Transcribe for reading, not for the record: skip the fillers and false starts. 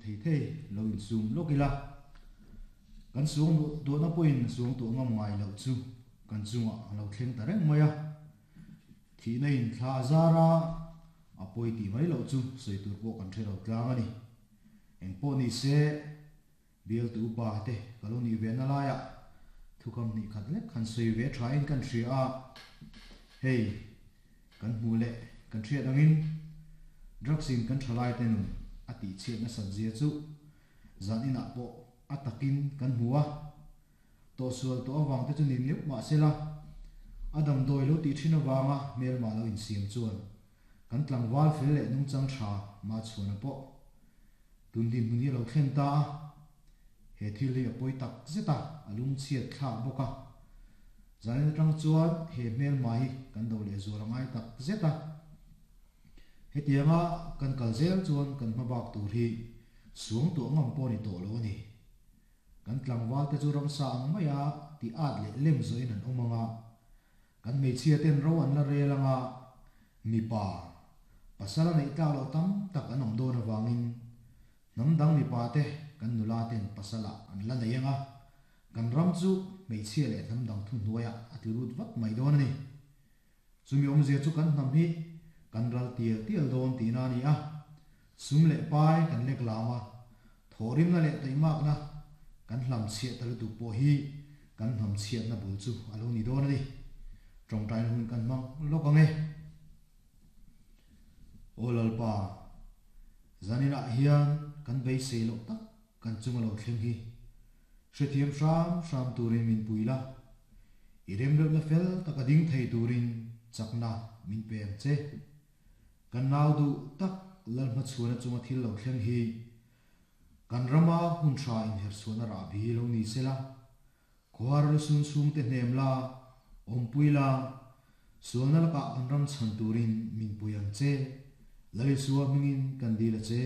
thei thei lo insum lawk ila, kan suang duahna pawhin a suang tuah ngam ngai loh chu kan chungah a lo thleng ta reng mai a. Thihna in thla a zar a, a pawi tih mai loh chu sawi tur pawh kan hre lo tlang a ni. Eng pawh ni se, bialtu upa te ka lo nih ve na laiah thukam hnih khat lek han sawi ve thain kan hria a, hei kan hmuh leh kan hriat angin drugs in kan thalai te nun a tihchhiat nasat zia chu zan inah pawh a takin kan hmu a. Tawhsual tawh avang te chu ni neuh mah sela, a damdawi lo tih thin avanga hmelma lo insiam chuan kan tlangval fel leh nungchang tha Machhuana pawh tun dinhmun hi a lo thlen ta a, he thil hi a pawi tak zet a, a lungchhiat thlak bawk a. Zanin atang chuan he hmelma hi kan do leh zual a ngai tak zet a, hetianga kan kal zel chuan kan hmabak tur hi suangtuah ngam pawh a ni tawh lo a ni. Kan tlangval te chu ramsa ang maia ti at leh lem zawhin an awm ang a, kan hmeichhia ten ro an la rel ang a, mipa, pasal a neih tlak loh tam tak an awm dawn avangin hnam dang mipa te kan nula ten pasal ah an la nei ang a, kan ram chu hmeichhia leh hnam dang thuhnuaiah a tlu lut vat mai dawn a ni. Chumi awmzia chu kan hnam hi kan ral tial tial dawn tihna a ni a, sum leh pai kan lek lam a, thawhrimna leh taihmakna kan hlam chhiah ta lutuk pawh hi kan hnam chhiatna bul chu a lo ni dawn a ni. Tawngtaina hun kan hmang lawk ang e. Aw Lalpa, zaninah hian kan beisei loh tak kan chunga lo thleng hi hrethiam hram hram turin min pui la, i remreuhna fel taka ding thei turin chakna min pe ang che. Kan nau duh tak Lalhmachhuana chunga thil lo thleng hi kan rama hun tha inherchhuahna rahbi lo ni sela, Khuar lusun chhungte hnem la, awmpui la, sualna lakah kan ram chhan turin min pui ang che, Lalisua hmingin kan dil a che.